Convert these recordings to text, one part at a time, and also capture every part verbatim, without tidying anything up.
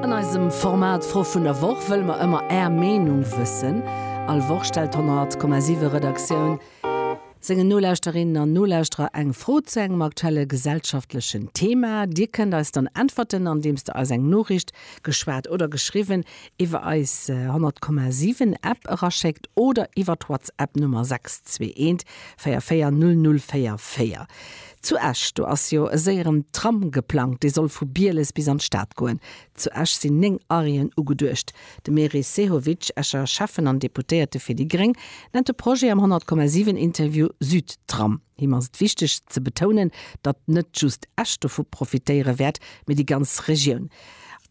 An eisem Format Fro vun der Woch wëlle mer ëmmer Är Meenung wëssen. All Woch stellt d'honnert Komma siwe Redaktioun sengen Nolauschterinnen an Nolauschterer eng Fro zu engem aktuelle gesellschaftlechen Thema. Dir kënnt eis dann äntwerten, andeems der eis eng Noriicht, geschwat oder geschriwwen, iwwer eis honnert Komma siwen App eraschéckt oder iwwer WhatsApp Nummer sechs zwee eent véier véier null null véier véier. Zu Esch, do ass jo e séieren Tram geplangt, dee soll vu Bieles bis an d'Stad goen. Zu Esch sinn néng Arrêten ugeduecht. De Meris Sehovic, Escher Schäffen an Deputéierte fir déi Gréng, nennt de Projet am honnert Komma siwen Interview Südtram. Him ass et wichteg ze betounen, datt net just Esch dovu profitéiere wäert, mee déi ganz Regioun.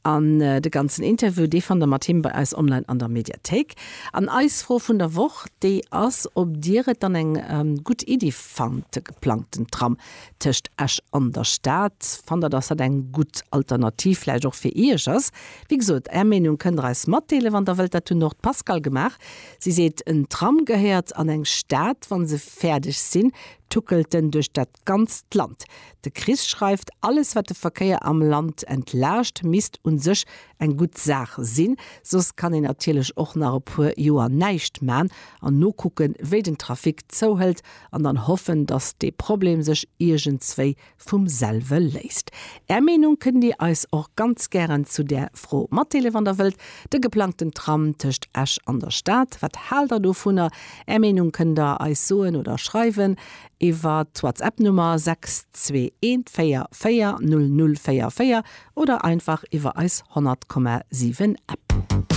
An de ganzen Interview, dee fannt der mat him bei eis online an der Mediathéik. An eis Fro vun der Woch, déi ass, ob dir et dann eng ähm, gutt Iddi fannt, de geplangten Tram tëscht Esch an der Stad. Fannt der, dass dat eng gutt Alternativ vläicht och fir iech ass? Wéi gesot, är Meenung kënnt der eis matdeelen, wann der wëllt. Dat huet och d'Pascale gemaach. Si seet, en Tram gehéiert an eng Stad, wann se fäerdeg sinn, tuckelt en duerch dat ganzt Land. De Chris schreift, alles wat de Verkéier am Land entlaascht, misst un sech eng gutt Saach sinn. Soss kann een natierlech och nach e puer Joer näischt man an nokucken, wéi den Trafic zouhëlt an dann hoffen, dass de Problem sech iergendswéi vum selwe léist. Är Meenung kënnt dir eis och ganz gären zu der Fro matdeelen, wann der wëllt. De geplangten Tram tëscht Esch an der Stad, wat haalt der dovunner? Är Meenung kënnt der eis soen oder schreiwen iwwer d'WhatsApp-Nummer sechs zwee eent véier véier null null véier véier oder einfach iwwer eis honnert Komma siwen App.